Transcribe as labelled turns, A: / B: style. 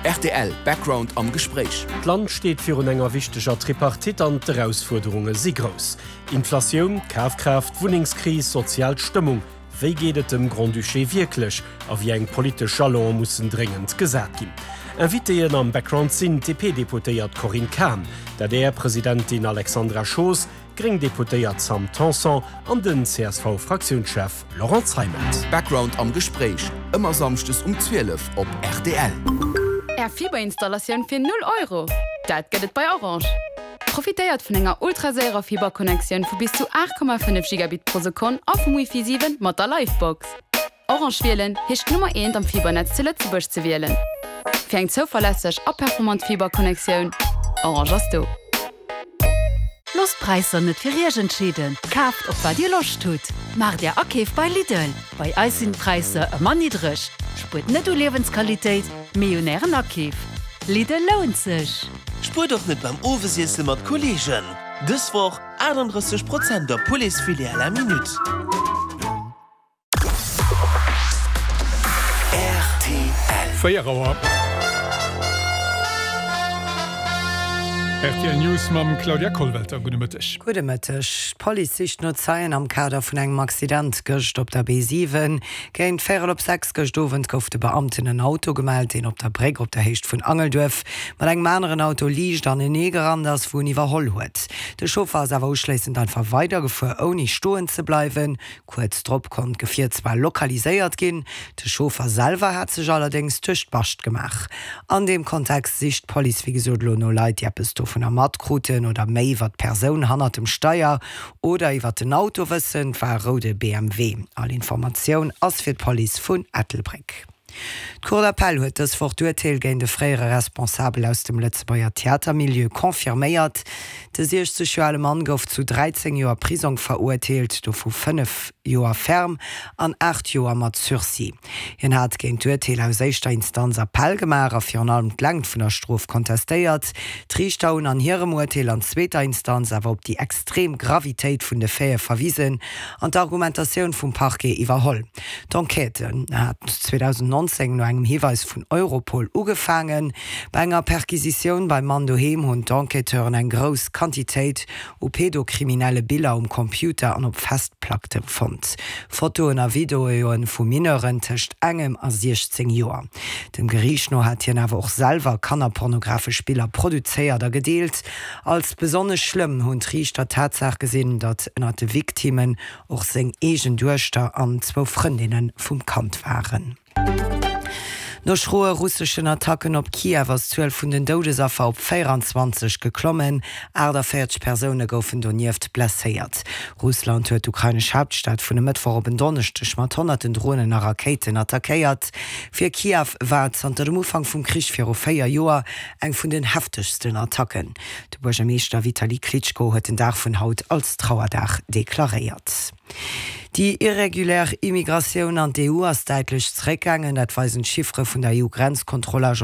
A: Rtl Background am Gespréich.
B: D'Land steet virun enger wichteger Tripartite an d'Erausfuerderunge si grouss. Inflatioun, Kafkraaft, Wunnengskris, sozial Stëmmung, wéi geet et dem Grand-Duché wierklech a wéi eng politesch Jalone mussen dréngend gesat ginn? Invitéen am Background sinn d'DP-Deputéiert Corinne Cahen, d'ADR-Presidentin Alexandra Schoos, d'gréng Deputéiert Sam Tanson an den CSV-Fraktiounschef Laurent Zeimet.
A: Background am Gespréich, ëmmer samschdes um 12 op rtl.
C: Är Fiberinstallatioun fir 0 Euro? Dat gëtt et bei Orange! Profitéiert vun enger ultraséierer Fiberconnectioun vu bis zu 8,5 Gigabit pro Sekonn a vum Wifi 7 mat der Livebox. Orange wielen heescht d'Nummer eent am Fibernetz zu Lëtzebuerg ze wielen. Fir eng zouverlässeg a performant Fiberconnectioun, Orange ass do.
D: Loosst d'Präisser net fir Iech entscheeden, kaaft op wat Dir Loscht hutt. Maacht Är Akeef bei Lidl, bei eis sinn d'Präisser ëmmer niddreg. Spuert net u Liewensqualitéit, mee un Ären Akeef. Lidl lount sech!
E: Spuert och net beim Owesiesse mat Kolleegen! Dës Woch 38 Prozent op Pouletsfilet à la minute.
A: Rtl.
F: 4 Auer. Rtl News mam Claudia Kollwelter. Gudde Mëtteg.
G: Gudde Mëtteg. D'Police sicht no Zeien am Kader vun engem Accident gëscht op der B7. Géint véierel op 6 gëscht Owend gouf de Beamten en Auto gemellt, deen op der Bréck op der Héicht vun Angelduerf mat engem aneren Auto liicht anenee gerannt ass, wou en iwwerholl huet. De Chauffer ass awer uschléissend einfach weidergefuer, ouni stoen ze bleiwen. Kuerz drop konnt d'Gefier zwar lokaliséiert ginn, de Chauffer selwer hat sech allerdéngs duerch d'Bascht gemaach. An deem Kontext sicht d'Police wéi gesot elo no Leit, déi eppes dovunner matkruten oder méi iwwer d'Persoun hannert dem Steier oder iwwer den Auto wëssen. Et war e roude BMW. All Informatioun ass fir d'Police vun Ettelbréck. D'Cour d'appel huet dës Woch d'Urteel géint e fréiere Responsabel aus dem Lëtzebuerger Theatermilieu confirméiert. De 60 Joer ale Mann gouf zu 13 Joer Prisong verurteelt, dovu 5 Joer ferme an 8 Joer mat Sursis. Hien hat géint d'Urteel aus éischter Instanz Appell gemaach a virun allem d'Längt vun der Strof kontestéiert. D'Riichter hunn an hirem Urteel an zweeter Instanz awer op déi extrem Gravitéit vun de Faite verwisen an d'Argumentatioun vum Parquet iwwerholl. D'Enquête hat 2019 no engem Hiweis vun Europol ugefaangen. Bei enger Perquisitioun beim Mann doheem hunn d'Enquêteuren eng grouss Quantitéit u pedokriminelle Biller um Computer an op Festplackte fonnt. Fotoen a Videoe vu Mineuren tëscht engem a 16 Joer. Dem Geriicht no hat hien awer och selwer kannerpornografesch Biller produzéiert a gedeelt. Als besonnesch schlëmm hunn d'Riichter d'Tatsaach gesinn, datt ënner de Victimmen och seng eegen Duechter an zwou Frëndinne vum Kand waren. No schroe russeschen Attacken op Kiew ass d'Zuel vun den Doudesaffer op 24 geklommen. 48 Persoune goufen donieft blesséiert. Russland huet d'ukrainesch Haaptstad vun e Mëttwoch op en Donneschdeg mat honnerten Dronen a Rakéiten attackéiert. Fir Kiew war et zanter dem Ufank vum Krich viru 4 Joer eng vun den heftegsten Attacken. De Buergermeeschter Vitali Klitschko huet den Dag vun haut als Trauerdag deklaréiert. Déi irregulär Immigratioun an d'EU ass däitlech zeréckgaangen. Dat weisen d'Chiffere vun der EU-Grenzkontrollagence.